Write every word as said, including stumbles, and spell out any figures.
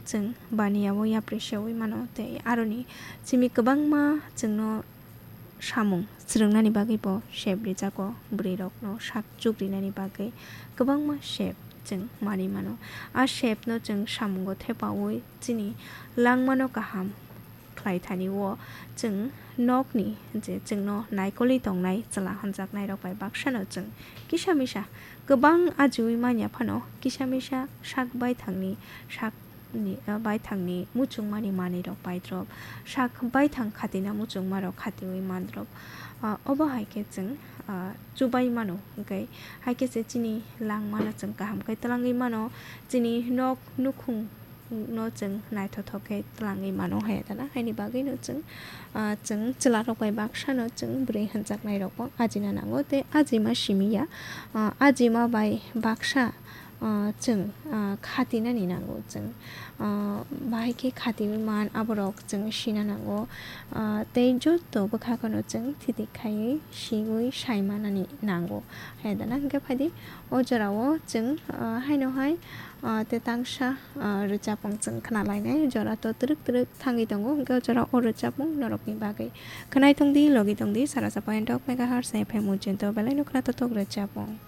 chwng baniya-o yapri seui mano, tei aroni simi kwbangma chwngno samung swrwngnani bagwi bo sep rijago, bwrwirokno sak chukrinani bagwi kwbangma sep chwng manwi mano. A sepno chwng samungo thepaui chini langmano kaham khlai thani o chwng nokni je chwngno naikolwi tongnai chwla hamjaknairok bai baksano chwng kisa misa kwbang ajiui manya phano kisa misa sak baithangni sak ni, ah, baithangni muchungmani manwirok paidrop, sak baithang khatina muchungmarok khatiui mandrop. Ah, obo hai khe chwng, ah, chubai mano, hwnkhe hai khe se chini langmano chwng kaham khe twlangwi mano, chini nok nukhung no chwng naithothok khe twlangwi mano hai dana. Haini bagwino chwng, ah, chwng chwlarok bai baksano chwng bwrwi hwnjaknairokbo ajina nango tei ajima simi ya. Ah, ajima bai baksa, ah, chwng, ah, khatinani nango chwng. Ah, bahai khe khatiui man aborok chwng sina nango. Ah, tei joto bwkhakono chwng thiti khaiwi siui saimanani nango. Hai dana hwnkhe phaidi o jorao chwng, ah, haino hai, ah, tei tangsa, ah, rwchapmung chwng khna lainai. Jora to twrwk twrwk thangwi tongo, hwnkhe o jora o rwchapmung norokni bagwi. Khwnai tongdi, logi tongdi, sara sapa entok megahertz F M ujinto belai no khna totok rwchapmung.